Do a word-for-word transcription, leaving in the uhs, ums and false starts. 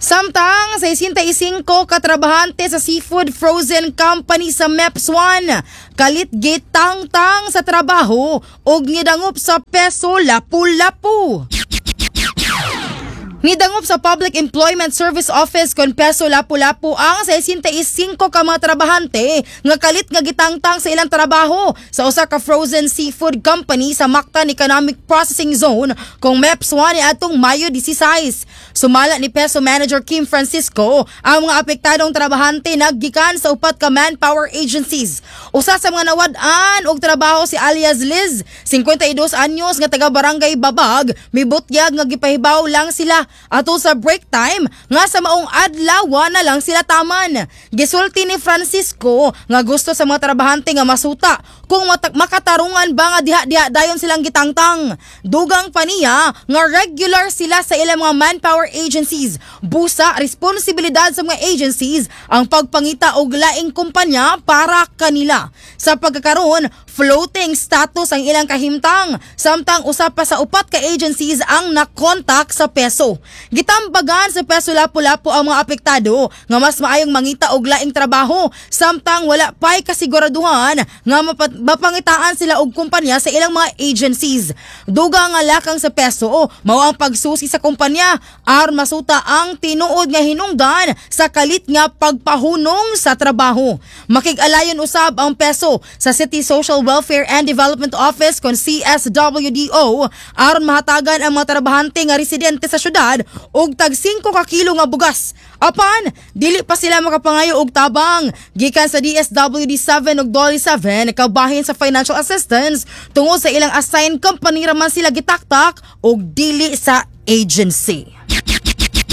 Samtang sesenta y singko ka trabahante sa Seafood Frozen Company sa MEPS one kalit gitangtang sa trabaho ug nidangop sa PESO Lapu-Lapu. Nidangop sa Public Employment Service Office kon PESO Lapu-Lapu ang sesenta y singko ka mga trabahante nga kalit nga gitangtang sa ilang trabaho sa usa ka frozen seafood company sa Mactan Economic Processing Zone kung MEPS one atong Mayo labing-sais. Sumala ni PESO Manager Kim Francisco, ang mga apektadong trabahante naggikan sa upat ka manpower agencies. Usa sa mga nawad-an og trabaho si alias Liz, singkwenta y dos anyos nga taga Barangay Babag, mibutyag nga gipahibaw lang sila ato sa break time nga sa maong adlaw na lang sila taman. Gisulti ni Francisco nga gusto sa mga trabahante nga masuta kung matak- makatarungan ba nga diha-diha dayon silang gitangtang. Dugang pa niya nga regular sila sa ilang mga manpower agencies. Busa responsibilidad sa mga agencies ang pagpangita og laing kumpanya para kanila. Sa pagkakaroon, floating status ang ilang kahimtang, samtang usa pa sa upat ka agencies ang nakontak sa PESO. Gitambagan sa PESO Lapu-Lapu ang mga apektado nga mas maayong mangita og laing trabaho samtang wala pa'y kasiguraduhan nga mapat- mapangitaan sila og kumpanya sa ilang mga agencies. Dugang nga lakang sa PESO mao ang pagsusi sa kumpanya aron masuta ang tinuod nga hinungdan sa kalit nga pagpahunong sa trabaho. Makig-alayon usab ang PESO sa City Social Welfare and Development Office kon C S W D O aron mahatagan ang mga trabahante nga residente sa syudad og tag singko ka kilo nga bugas. Apan dili pa sila makapangayo og tabang gikan sa D S W D seven ug DOLE seven kabahin sa financial assistance tungod sa ilang assigned company raman sila gitaktak og dili sa agency.